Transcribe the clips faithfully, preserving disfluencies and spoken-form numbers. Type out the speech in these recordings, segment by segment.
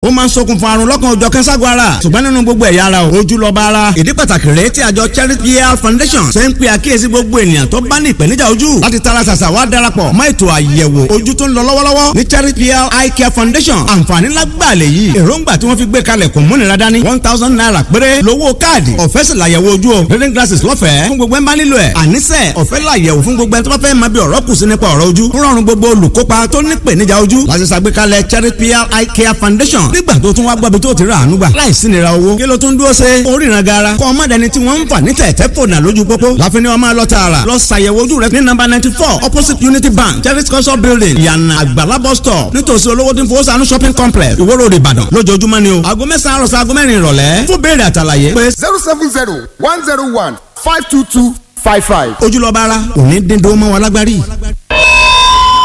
Ó máa ń ṣokùnfà àrùn lọ́kàn òjọ̀ kẹ́sàgọ́ ara, ṣùgbọ́n nínú gbogbo ẹ̀yà ara o, ojú lọ́ba ara. Ìdí pàtàkì rèé tí àjọ Charity Health Foundation ṣe ń pe àkíyèsí gbogbo ènìyàn tó bá ní ìpèníjà ojú láti tara ṣàṣà wá darapọ̀ mọ́ ètò àyẹ̀wò ojú tó ń lọ lọ́wọ́lọ́wọ́ ní Charity Health Eye Care Foundation. Àǹfààní lágbàlẹ̀ yìí, èròǹgbà tí wọ́n fi gbé kalẹ̀ kò múnira dání. One thousand naira péré lówó káàdì, ọ̀fẹ́ sì làyẹ̀wò ojú o. Reading glasses lọ́fẹ̀ẹ́ fún gbogbo ẹ̀ máa nílò ẹ̀. Àníṣe ọ̀fẹ́ làyẹ̀wò fún gbogbo ẹ̀ tó bá fẹ́ máa bí ọ̀rọ̀ kù sí nípa ọ̀rọ̀ ojú. Ń rọrùn gbogbo olùkópa tó ní ìpèníjà ojú láti ṣàgbékalẹ̀ Charity Health Eye Care Foundation. Nígbà tó tún wá gbọ́bi tó ti rà àánú gbà láìsí nira owó, kí ló tún dúró ṣe oríran gara? Kọ́ ọmọdéni tí wọ́n ń fà ní tẹ̀tẹ̀ fònà lójú pópó láfi ni wọ́n máa lọ tààrà lọ ṣàyẹ̀wò ojú rẹ ní nọ́mbà ninety four, opposite Unity Bank, Charity Culture Building, Ìyànà Àgbàlá bus stop, nítòsí olówó tí ń fowó sànú shopping complex, Ìwó Road, Ìbàdàn, lójoojúmọ́ ni o, aago mẹ́sàn-án àròsọ aago mẹ́rin ìrọ̀lẹ́. Fún béèrè àtàlàyé pé zero seven zero one zero one five two two five five. Ojúlọ́ba ara òní dín dó mọ́ wa lágbárí.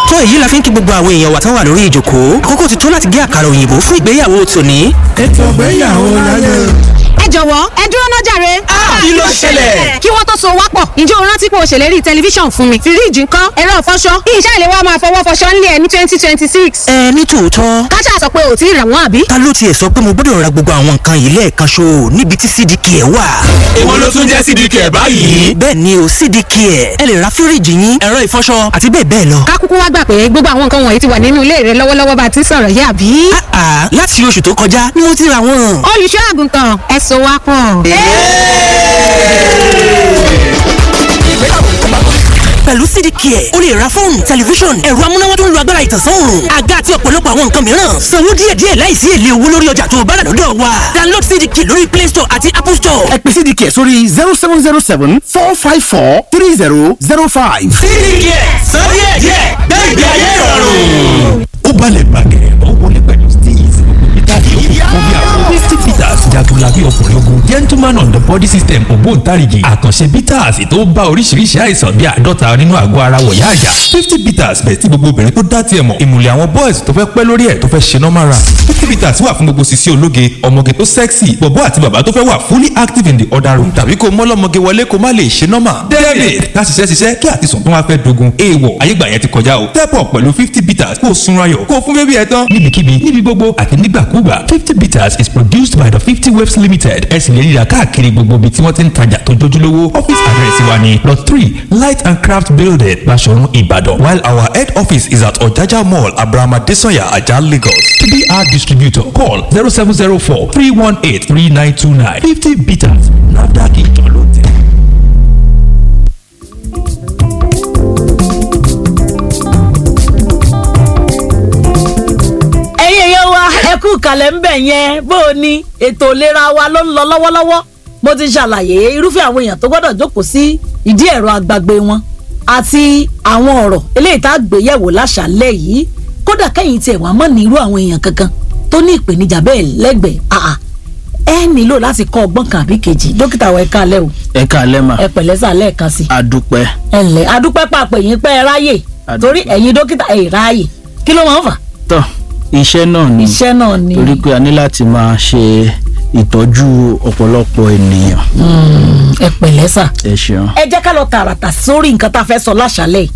Tó èyí la fi ń kí gbogbo àwọn èèyàn wa tán wà lórí ìjòkó. Àkókò ti tó láti gé àkàrà òyìnbó fún ìgbéyàwó tòní. Ètò ìgbéyàwó láyé. Ẹ jọ̀wọ́, ẹ dúró ná jàre. Kí ló ṣẹlẹ̀? Kí wọ́n tó so wá pọ̀, ǹjẹ́ o rántí pé o ṣèlérí tẹlifíṣàn fún mi? Fíríìjì ńkọ́? Ẹ̀rọ ìfọṣọ? Iṣẹ́ ìléwọ́ máa fọwọ́ fọṣọ ńlẹ̀ ẹ̀ ní twenty twenty six. Ẹ ní tòótọ́. Káṣá sọ pé ò tí ì rà wọ́n, àbí? Ta ló tiẹ̀ sọ pé mo gbọ́dọ̀ ra gbogbo àwọn nǹkan yìí lẹ́ẹ̀kan ṣo níbi tí C D K ẹ̀ wà? Èwo ló tún jẹ́ C D K báyìí? Bẹ́ẹ̀ ni o, C D K ẹ̀. Ẹ lè ra fíríìjì yín, ẹ̀rọ ìfọṣọ àti bẹ́ẹ̀ bẹ́ẹ̀ lọ. Ká kúkú wá gbà pé gbogbo àwọn nǹkan wọ̀nyí ti wà nínú ilé rẹ lọ́wọ́lọ́wọ́ bá a ti sọ̀rọ̀ yìí, àbí? Àà, láti oṣù tó kọjá ni mo ti ra wọn. Olùṣọ́ àgùntàn, ẹ so wá pọ̀. Pẹ̀lú C D K ẹ̀, o lè ra fóònù, tẹlifíṣọ̀n, ẹ̀rọ amúnáwá tó ń lo agbára ìtànsán òòrùn, àga àti ọ̀pọ̀lọpọ̀ àwọn nǹkan mìíràn. Sanwó díẹ̀díẹ̀ láìsí èlé owó lórí ọjà tó o bá rà lọ́dọ̀ wa. Download C D K lórí Play Store àti Apple Store. Ẹ pè C D K sórí zero seven zero seven four five four three zero zero five. C D K, sọ díẹ̀díẹ̀, gbé ìgbé ayé ìrọ̀rùn. Ó balẹ̀ bàgẹ̀, ó wọlé pẹ̀lú steez. Ìtàgé ó kún bí àwọn Misty Peters, jagunlabi ọkùnrin ogun, gentleman on the body system, ògbóǹtarìgì àkànṣe bitters tó bá oríṣiríṣi àìsàn bíi àádọ́ta nínú àgọ́ ara wọ̀yá àjà. Fifty Bitters bẹ̀ tí gbogbo obìnrin tó dá tiẹ̀ mọ̀, ìmùlẹ̀ àwọn boys tó fẹ́ pẹ́ lórí ẹ̀ tó fẹ́ ṣe normal run. Fifty Bitters wà fún gbogbo sisi ológe, ọmọge tó sexy, bọ̀bọ́ àti bàbá tó fẹ́ wà fully active in the other room, tàbí kó mọ́lọ́mọge wọlé kó má lè ṣe normal. David ká ṣiṣẹ́ ṣiṣẹ́ kí àtisùn tó wá fẹ́ dogun, èèwọ̀ ayégbà yẹn ti kọjá o. Step up pẹ̀lú Fifty Bitters, kó o sunra yọ̀, kó o fún bébí ẹ tán níbikíbi, níbi gbogbo àti nígbàkúgbà. Fifty Bitters is produced by the Fifty Waves Limited. Ẹ sì lè ríra káàkiri gbogbo ibi tí wọ́n ti ń tajà tó jójúlówó. Office address wa ni Lot three, Light and Craft Building, Basọ̀run, Ìbàdàn, while our head office is at Ọ̀jájá Mall, Abraham Adesanya Ajah, Lagos. T B R distributor. Call zero seven zero four three one eight three nine two nine. Fifty Bitters, NAFDAC ìjọ ló tẹ̀. Ẹ̀yin èèyàn wa, ẹ kú kalẹ̀ ń bẹ̀ yẹn. Bó o ní ètò ìlera wa ló ń lọ lọ́wọ́lọ́wọ́, mo ti ṣàlàyé irúfẹ́ àwọn èèyàn tó gbọ́dọ̀ jókòó sí ìdí ẹ̀rọ agbàgbé wọn àti àwọn ọ̀rọ̀ eléyìí tá a gbé yẹ̀wò láṣàlẹ̀ yìí. Kódà kẹ́yìn tiẹ̀ wá mọ̀ ní irú àwọn èèyàn kankan tó ní ìpèníjà bẹ́ẹ̀ lẹ́gbẹ̀ẹ́, àà ẹ nílò láti kọ́ ọgbọ́n kan àbí kejì. Dókítà wa, ẹ káalẹ́ o. Ẹ káalẹ́ mà. Ẹ pẹ̀lẹ́ sà lẹ́ẹ̀kan sí. Adúpẹ́. Ẹ ǹlẹ́, adúpẹ́ pàpẹ́ yín pẹ́ ẹ ráyè, torí ẹ̀yin dókítà ẹ̀ ráyè, kí ló máa ń fà? Tọ́, iṣẹ́ náà ni. Iṣẹ́ náà ni. Torí pé a ní láti máa ṣe ìtọ́jú ọ̀pọ̀lọpọ̀ ènìyàn. Ẹ pẹ̀lẹ́ sà. Ẹ ṣeun. Ẹ jẹ́ ká lọ tààràtà sórí nǹkan tá a fẹ́ sọ láṣálẹ̀ yìí.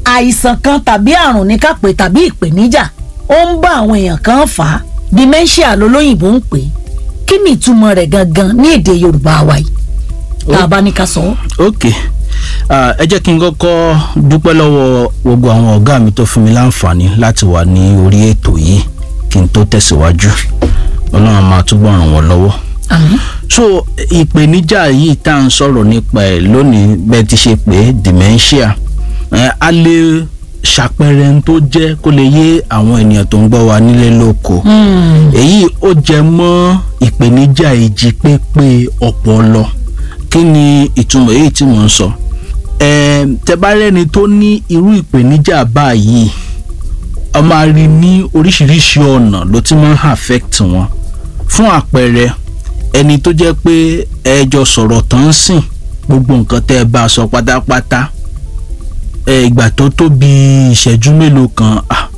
Àìsàn kan tàbí àrùn ní ká pè, tàbí ìpèníjà ó ń bá àwọn èèyàn kan fà á, dementia lolóyìnbó ń pè é. Kí ni ìtumọ̀ rẹ̀ gangan ní èdè Yorùbá wa yìí tá a bá ní ká sọ ọ́? Ok, Ah, ẹ jẹ́ kí n kọ́kọ́ dúpẹ́ lọ́wọ́ gbogbo àwọn ọ̀gá mi tó fún mi láǹfààní láti wà ní orí ètò yìí. Kí n tó tẹ̀síwájú, Ọlọ́run máa túbọ̀ ràn wọ́n lọ́wọ́. Àmín. So ìpèníjà yìí tá à ń sọ̀rọ̀ nípa ẹ̀ lónìí, bẹ́ẹ̀ ti ṣe pé dementia, Eh, a lè ṣàpẹẹrẹ n tó jẹ́ kó lè yé àwọn ènìyàn tó ń gbọ́ wa nílé lóko. Èyí ó jẹ mọ́ ìpèníjà ìjí pépé ọpọlọ. Kí ni ìtumọ̀ èyí tí mò ń sọ? Eh, tẹ́ bá rẹ́ni tó ní irú ìpèníjà báyìí, a máa rí ní oríṣiríṣi ọ̀nà ló ti máa ń affect wọn. Fún àpẹẹrẹ, ẹni tó jẹ́ pé ẹ jọ sọ̀rọ̀ tán ń sìn, gbogbo nǹkan tẹ́ ẹ bá sọ pátápátá, ẹ ìgbà tó tó bí ìṣẹ́jú mélòó kan, ah,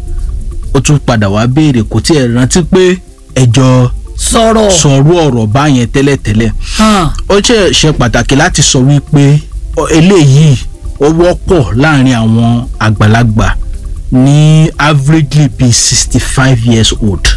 ó tún padà wá béèrè, kò tiẹ̀ rántí pé ẹ jọ sọ̀rọ̀ sọ̀rọ̀ ọ̀rọ̀ báyẹn tẹ́lẹ̀tẹ́lẹ̀. Hàn. Ó ṣe ṣe pàtàkì láti sọ wípé ọ- eléyìí ó wọ́pọ̀ láàrin àwọn àgbàlagbà ní averagely bíi sixty five years old.